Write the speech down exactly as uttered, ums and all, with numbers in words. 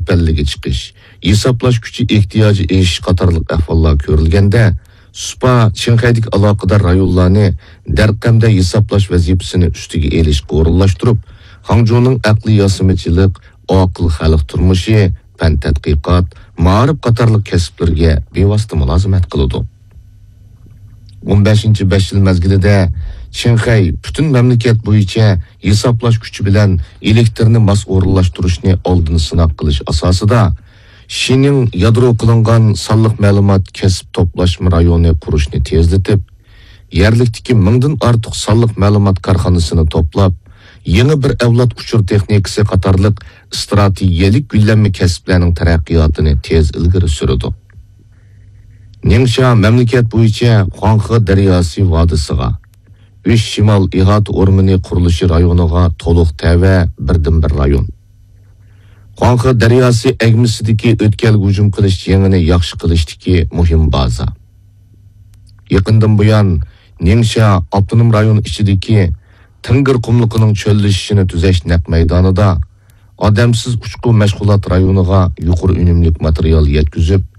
پەللىگە چىقىش، ھېسابلاش كۈچى ئېھتىياجى ئېشىش قاتارلىق ئەھۋاللار كۆرۈلگەندە، سۇپا چىڭخەيدىكى ئالاقىدار رايونلارنى دەرقەمدە ھېسابلاش ۋەزىپىسىنى ئۈستىگە ئېلىشقا ئورۇنلاشتۇرۇپ، خاڭجۇنىڭ ئەقلىي ياسىمىچىلىق، ئاقىل خەلق تۇرمۇشى، پەن تەتقىقات، مائارىپ قاتارلىق كەسىپلىرىگە بىۋاسىتە مۇلازىمەت قىلىدۇ. ئون بەشىنچى بەش يىل مەزگىلىدە چىڭخەي پۈتۈن مەملىكەت بويىچە ھېسابلاش كۈچى بىلەن ئېلېكتىرنى ماس ئورۇنلاشتۇرۇشنى ئالدىن سىناق قىلىش ئاساسىدا، شىنىڭ يادرو قىلىنغان سانلىق مەلۇمات كەسىپ توپلاشما رايونى قۇرۇشنى تېزلىتىپ، يەرلىكتىكى مىڭدىن ئارتۇق سانلىق مەلۇمات كارخانىسىنى توپلاپ، يېڭى بىر ئەۋلاد ئۇچۇر تېخنىكىسى قاتارلىق ئىستراتېگىيەلىك گۈللەنمە كەسىپلەرنىڭ تەرەققىياتىنى تېز ئىلگىرى سۈرىدۇ. نىڭشيا مەملىكەت بويىچە خۇاڭخې دەرياسى ۋادىسىغا، ئۈچ شىمال ئىھاتە ئورمىنى قۇرۇلۇشى رايونىغا تولۇق تەۋە بىردىنبىر رايون. خۇاڭخې دەرياسى ئەگمىسىدىكى ئۆتكەلگە ھۇجۇم قىلىش جېڭىنى ياخشى قىلىشتىكى مۇھىم بازا. يېقىندىن بۇيان، نىڭشيا ئاپتونوم رايون ئىچىدىكى تىڭگىر قۇملۇقىنىڭ چۆللىشىشىنى تۈزەش نەق مەيدانىدا ئادەمسىز ئۇچقۇ مەشغۇلات رايونىغا يۇقىرى ئۈنۈملۈك ماتېرىيال يەتكۈزۈپ،